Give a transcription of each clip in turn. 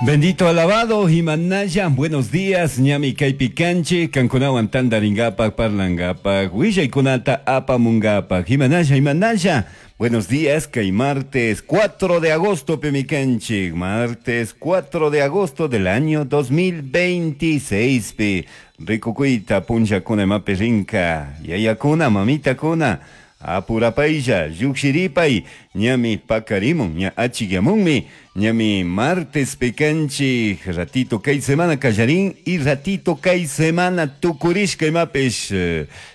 Bendito alabado, Himanaya, buenos días, ñami kaypi kanchik, kankunawan tantaringapak, parlangapak, willaykunata apamungapak, Himanaya, Himanaya, buenos días, kay martes 4 de agosto, pimi kanchik, martes 4 de agosto del año 2026, pi, rikukuyta punllakuna imapi rinka, yayakuna, mamitakuna, apurapaylla, llukshiripay, ñami pakarimun, ña achikyamunmi, ñami martes pi kanchik, ratito kay semana kallarin y ratito kay semana tukurishka imapish,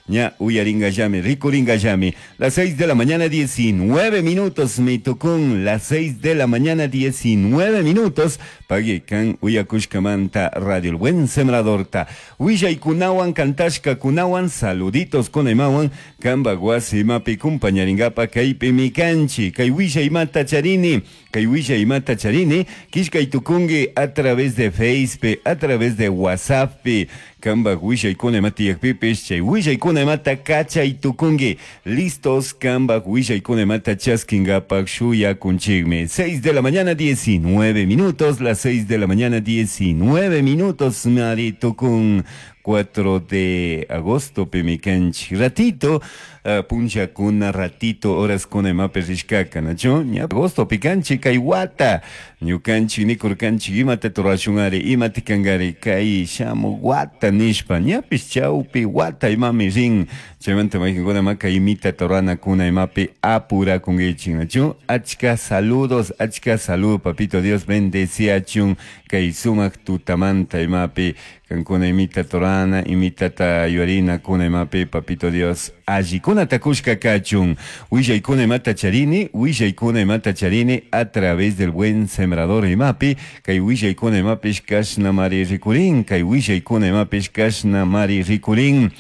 ña uyaringallami, rikuringallami. Las 6 de la mañana 19 minutos, mi tukun, las 6 de la mañana 19 minutos, pagui kan uyakushkamanta Radio El Buen Sembradorta. Willaykunawan, kantashkakunawan, saluditos kunaymawan, kanpak wasi imapi kumpañaringapa kaypimi kanchik, kay willaymata charini, kay willaymata charini, killkay tukunki a través de Facebook, a través de WhatsApp, kanpak willaykuna ima tiyakpipish, chay willaykuna imata kachay tukunki, listos kanpak willaykuna imata chaskingapak shuyakunchikmi. 6 de la mañana 19 minutos, las 6 de la mañana 19 minutos, mari tukun 4 de agosto, pimi kanchik, ratito, punllakuna, ratito, horas kuna imapi rishkaka, nachu? Ña agosto pikanchik, kay wata, ñukanchik nikurkanchik, imata rurashunari, imata kankari, kay shamuk wata nishpa, ñapish chawpi wata imami rin, chaymanta maykankuna ima kay imita ruranakuna imapi apurakunkichik, nachu? Achka saludos, achka salud, papito Dios bendeciachun, kay sumak tutamanta imapi, kankuna imita rurana, imitata yuyarina kuna imapi, papito Dios allikunata kushka kachun. Willaykuna imata charini, willaykuna imata charini a través del Buen Sembrador imapi, kay willaykuna imapish kashna mari rikurin, kay willaykuna imapish kashna mari rikurin.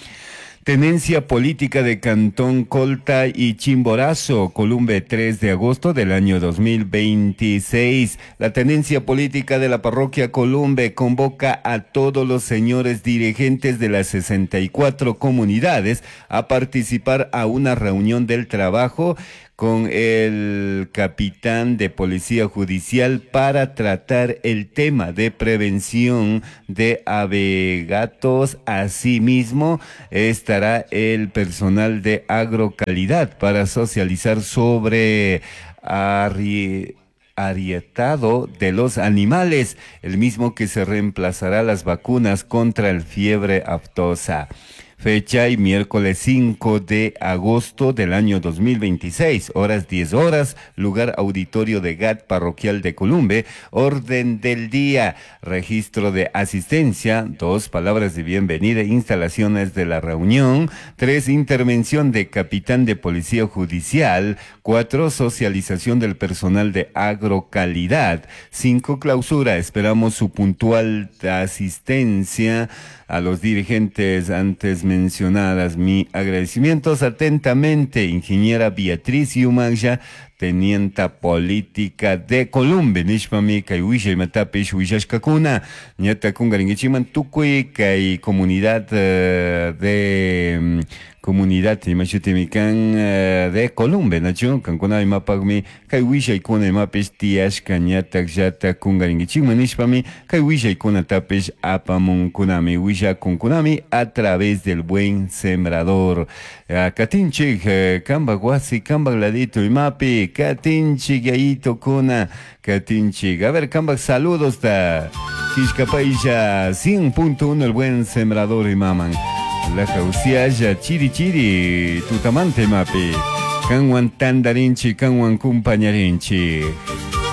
Tenencia política de Cantón Colta y Chimborazo, Columbe, 3 de agosto del año 2026. La tenencia política de la parroquia Columbe convoca a todos los señores dirigentes de las 64 comunidades a participar a una reunión del trabajo con el capitán de policía judicial para tratar el tema de prevención de abegatos. Asimismo, estará el personal de agrocalidad para socializar sobre arietado de los animales, el mismo que se reemplazará las vacunas contra el fiebre aftosa. Fecha y miércoles 5 de agosto del año 2026, horas 10 horas, lugar auditorio de GAT Parroquial de Columbe, orden del día, registro de asistencia, 2 palabras de bienvenida, instalaciones de la reunión, 3 intervención de capitán de policía judicial, 4 socialización del personal de agrocalidad, 5 clausura, esperamos su puntual asistencia a los dirigentes antes mencionadas. Mi agradecimientos atentamente, ingeniera Beatriz Yumaya, tenienta política de Columbe, nishpami kay wishay matapish wishashkakuna, ñata kungarinkichiman tukuy kay comunidad de comunidad imashutimikan de Columbe, nachu kankuna imapakmi kay wishaykuna imapish tiyashka ñatak llata kungarinkichikman nishpami kay wishaykunatapish apamunkunami, wishakunkunami a través del Buen Sembrador. Katinchik, kanpak wasi, kanpak ladito imapi, katinchik yayito kuna, katinchik. A ver, kanpak saludos ta Kishkapaylla 100.1 El Buen Sembrador imaman. La jausiaya chiri chiri tutamante mapi. Kanwan tandarinchi, kanwan kumpañarinchi.